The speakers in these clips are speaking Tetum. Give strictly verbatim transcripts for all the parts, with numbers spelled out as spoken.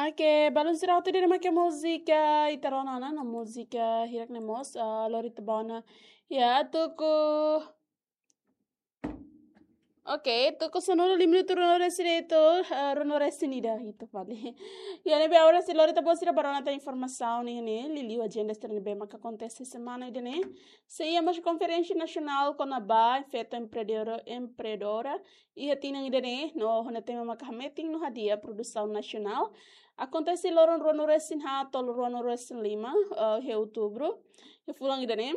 Oke, balun sira hotu, ida-ne'e mak múzika ita rona ona, no múzika hirak ne'e mós, ah, lori ita ba ona. Ya, tuku. Oke, tuku sanulu lima minutu ruanulu-resin-ida, ah, ruanulu-resin-ida, ita fali. Ya, ne'ebé agora sei lori ita-boot sira ba rona tan informasaun ne'e, liuliu ajenda sira ne'ebé maka akontese semana ida-ne'e. Sei iha mós konferénsia nasionál kona-ba feto empreendedora, empreendedora iha tinan ida-ne'e, no ho tema maka hametin no hadi'a produsaun nasionál. Akontese loron ruanulu-resin-haat to'o ruanulu-resin-lima, eh, iha outubru, iha fulan ida-ne'e.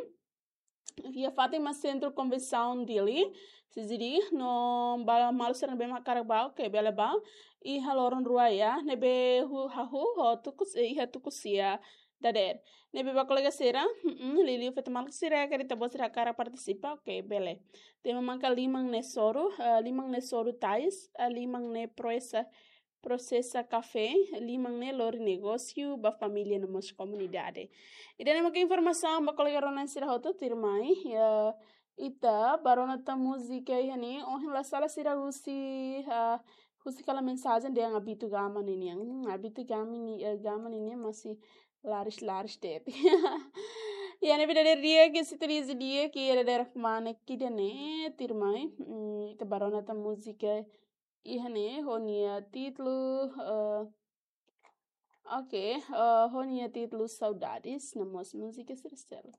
Iha fatin mak Sentru Konvensaun Dili, C C D, no ba maluk sira ne'ebé mak hakarak ba, oke, bele ba. Iha loron rua ya, ne'ebé hu-, hahú ho tuku s-, iha tuku sia dadeer. Ne'ebé ba kolega sira, mm, liuliu feto maluk sira karik ita-boot sira hakarak partisipa, oke, bele. Tema maka liman ne'e soru, eh, liman ne'e soru tais, eh, liman ne'e prosesa, prosesa kafé, liman ne'e lori negósiu ba família no mós komunidade. Ida-ne'e maka informasaun ba kolega rona sira hotu, tuirmai, ya, ita ba rona tan múzika iha ne'e, ohin la sala sira husi, ah, husi kala mensajen dehan Abito Gama ninian. Hmm, Abito Gama ni, eh, Gama ninian masih laris-laris de'it. Ya, ne'ebé dadeer di'ak, ke se treze di'ak, ke dadeer kmanek ida-ne'e, tuirmai. Hmm, ita ba rona tan múzika iha ne'e, ho nia títulu, eh, oke, eh, ho nia títulu Saudades, no mós múzika sira seluk.